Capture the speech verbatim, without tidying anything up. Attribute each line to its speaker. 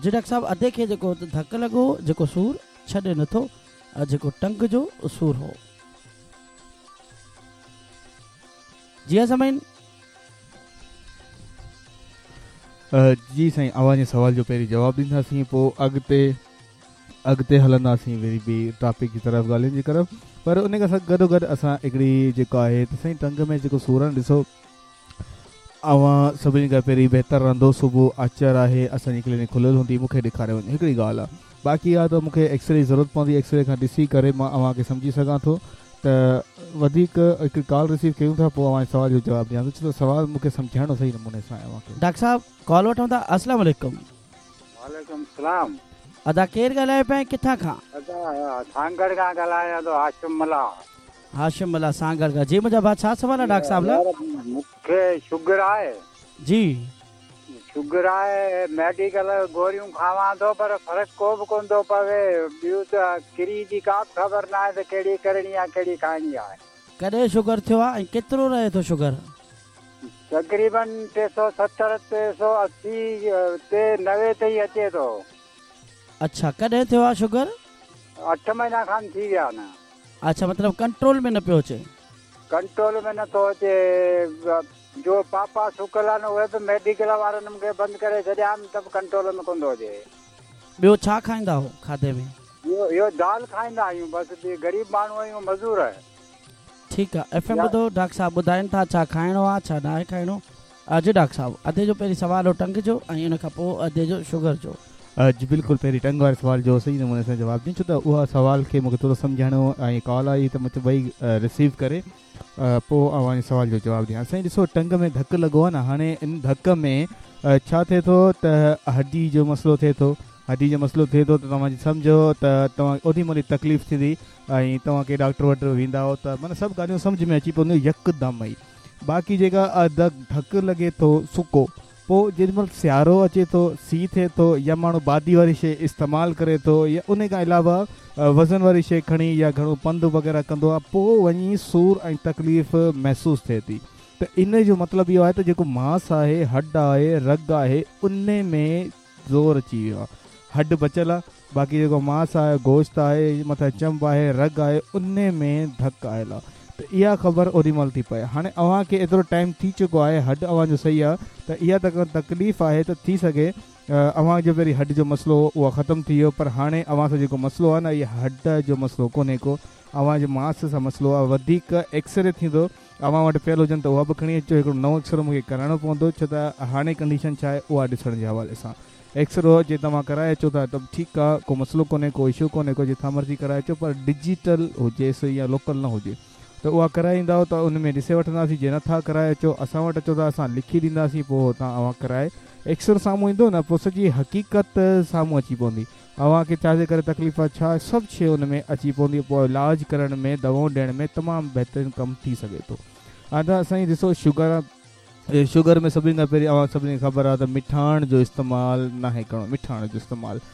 Speaker 1: جي ڊاڪٽر صاحب، ادي کي جيڪو ڌڪ لڳو، جيڪو سور ڇڏي نٿو، جيڪو ٽنگ جو سور هو. جي ها سامعين.
Speaker 2: جي سائين، اوهان جي سوال جو پهرين جواب ڏينداسين، پوءِ اڳتي اڳتي هلنداسين وري ٻي ٽاپڪ جي طرف، ڳالهين جي طرف. پر ان کان گڏو گڏ اسان هڪڙي جيڪو آهي ته سائين ٽنگ ۾ جيڪو سور آهي، ڏسو اوهان سڀني کان پهرين بهتر رهندو، صبح آچر آهي، اسان جي ڪلينڪ کليل هوندي، مون کي ڏيکاري وڃو. هڪڙي ڳالهه آهي، باقي آهي ته مون کي ايڪسري جي ضرورت پوندي، ايڪسري کان ڏسي ڪري مان اوهان کي سمجهي سگهان ٿو. ته وڌيڪ هڪ ڪال رسيو ڪيون ٿا، پوءِ اوهان جي سوال جو جواب ڏيان ٿو، ڇو ته سوال مون کي سمجهائڻو صحيح نموني سان آهي اوهان کي.
Speaker 1: ڊاڪٽر صاحب ڪال وٺون ٿا. السلام عليڪم.
Speaker 3: وعليڪم السلام.
Speaker 1: ادا ڪير ڳالهايو پيا ۽ ڪٿان کان؟
Speaker 3: ادا سانگهڙ کان ڳالهايان ٿو، هاشم ملاح.
Speaker 1: هاشم ملاح سانگهڙ کان. جي منهنجا ڀاءُ، ڇا سوال آهي ڊاڪٽر صاحب لاءِ؟
Speaker 3: مون کي شگر آهي.
Speaker 1: جي.
Speaker 3: شگر آهي، ميڊيڪل گوريون کاوان ٿو پر فرق ڪو به ڪونه ٿو پوي. ٻيون ته ڪري جي ڪا به خبر نه آهي ته ڪهڙي ڪرڻي آهي، ڪهڙي کائڻي آهي.
Speaker 1: ڪڏهن شگر ٿيو آهي ۽ ڪيترو رهي ٿو شگر؟
Speaker 3: تقريبن ٽي سؤ ستر، ٽي سؤ اسي تي نوي تائين اچي ٿو.
Speaker 1: اڇا، ڪڏهن ٿيو آهي شگر؟
Speaker 3: اٺ مهينا کن ٿي ويا آهن.
Speaker 1: اڇا، مطلب ڪنٽرول ۾ نه پيو اچي؟
Speaker 3: ڪنٽرول ۾ نٿو اچي. جو پاپا سڪل آهن اهي به ميڊيڪل وارن مون کي بند ڪري ڇڏيا آهن، ته به ڪنٽرول ۾ ڪونه ٿو اچي.
Speaker 1: ٻيو ڇا کائيندا هو کاڌي ۾؟
Speaker 3: اهو اهو دال کائيندا آهيون بس، ٻي غريب ماڻهو آهيون، مزور.
Speaker 1: ٺيڪ آهي، ايف ايم ٻڌو، ڊاڪٽر صاحب ٻڌائين ٿا ڇا کائڻو آهي ڇا ناهي کائڻو. جي ڊاڪٽر صاحب، ادي جو پهرين سوال هو ٽنگ جو ۽ ان کان پوءِ ادي جو شگر جو.
Speaker 2: جي بلڪل، پهرين ٽنگ واري سوال جو صحيح نموني سان جواب ڏيون، ڇو ته اها سوال کي مون کي ٿورو سمجهائڻو ۽ ڪال آئي ته مون چيو ڀئي رسيو ڪري پوءِ اوهان جي سوال جو جواب ڏيان. سائين ڏسو، ٽنگ ۾ ڌڪ لڳو آهي نه، هاڻي ان ڌڪ ۾ ڇا ٿئي ٿو ته هڏي جو مسئلو ٿئي ٿو. هڏي جو مسئلو ٿئي ٿو ته توهان سمجهو ته توهان اوڏي مهل ئي تڪليف ٿيندي ۽ توهان ڪنهن ڊاڪٽر وٽ ويندا آهيو ته معنيٰ سڀ ڳالهيون سمجهه ۾ اچي پونديون يڪدم ئي. باقي جيڪا ڌڪ لڳي ٿو سڪو، پوءِ جيڏي مهل سيارو اچي ٿو، سيءُ ٿئي ٿو، يا ماڻهو بادي واري شيءِ استعمال ڪري ٿو، يا ان کان علاوه وزن واري شيءِ کڻي يا گهڻو پنڌ وغيره ڪندو آهي، پوءِ وڃي سور ۽ تڪليف محسوس ٿئي ٿي. ته ان جو مطلب اهو آهي ته جيڪو ماس آهي، هڏ آهي، رڳ آهي، ان ۾ زور اچي ويو آهي. هڏ بچيل آهي، باقي جيڪو ماس آهي، گوشت آهي، مٿان چنب آهي، رڳ آهي، ان ۾ ڌڪ آيل آهي. ته اها خبر اوڏي مهل ٿي پئي. هاڻي اوهان کي ايترو ٽائيم ٿي چڪو آهي، هڏ اوهان جو صحيح آهي، ته اها ته تڪليف آهي ته ٿي سگهي اوهان جو پهرين هڏ جو مسئلو هو اها ختم ٿي ويو، پر هاڻي اوهان سان جيڪو مسئلو آهي نه، اهو هڏ جو مسئلو ڪونهي ڪو، اوهان جي ماس سان مسئلو آهي. وڌيڪ ايڪسري ٿيندو، اوهان وٽ پيل هجن ته اها به کڻي اچو، هڪڙو نئون ايڪسرو مون کي ڪرائڻو پوندو، ڇو ته هاڻي ڪنڊيشن ڇا آهي اها ڏسڻ جي حوالي سان. ايڪسرو جي توهان ڪرائي اچو ٿا ته ٺيڪ آهي، ڪو مسئلو ڪونهي، ڪو اشو ڪونهي ڪو، جتان مرضي ڪرائي اچو، پر ڊجيٽل هجيس يا لوڪل نه هجي ته اها ڪرائي ايندؤ ته ان ۾ ڏسي وٺنداسين. جي نٿا ڪرائي اچو، اسان وٽ اچو ته اسان لکي ڏينداسين، پوءِ هتان اوهان ڪرائي ايڪسرو سامهون ايندو نه، پوءِ سڄي حقيقت سامهون اچي پوندي، اوهان کي ڇا جي ڪري تڪليف آهي، ڇا سڀ شيءِ ان ۾ اچي پوندي. پوءِ علاج ڪرڻ ۾ دوائون ڏيڻ ۾ تمام بهترين ڪم ٿي سگهي ٿو. ادا سائين ڏسو، شگر شگر ۾ سڀني کان پهرين اوهان سڀني کي خبر آهي ته مٺاڻ جو استعمال ناهي ڪرڻو. مٺاڻ جو استعمال